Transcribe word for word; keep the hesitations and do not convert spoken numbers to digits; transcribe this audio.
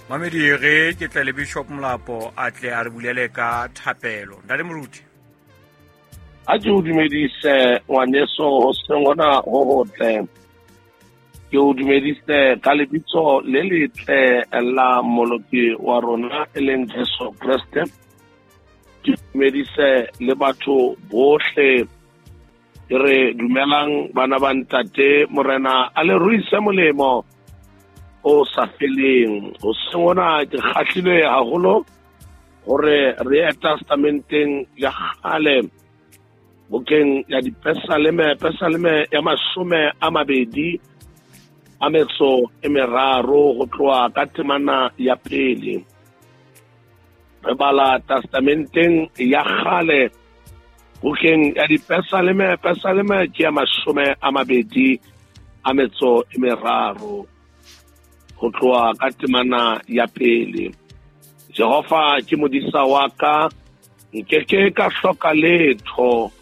Mamedi re ke tle le Bishop Molapo a tle a re bulele ka thapelo. Ntate Moruti. A ke o dumedise ngwaneso hoseng hona ho hotle. Ke o dumedise ka lebitso le letle la Mmoloki wa rona e leng Jesu Kreste. Ke dumedise le batho bohle. Ke re dumelang bana ba ntate, Morena a le ruise molemo o sa feleng. Hoseng hona ke kgahlilwe haholo hore re ye testamenteng ya kgale, bukeng ya Dipesaleme, Pesaleme ya mashome a mabedi a metso e meraro ho tloha ka temana ya pele. Re bala testamenteng ya kgale, bukeng ya Dipesaleme, Pesaleme ke ya mashome a mabedi a metso e meraro ho tloha ka temana ya pele. Jehova ke modisa wa ka, nkeke ka hloka letho.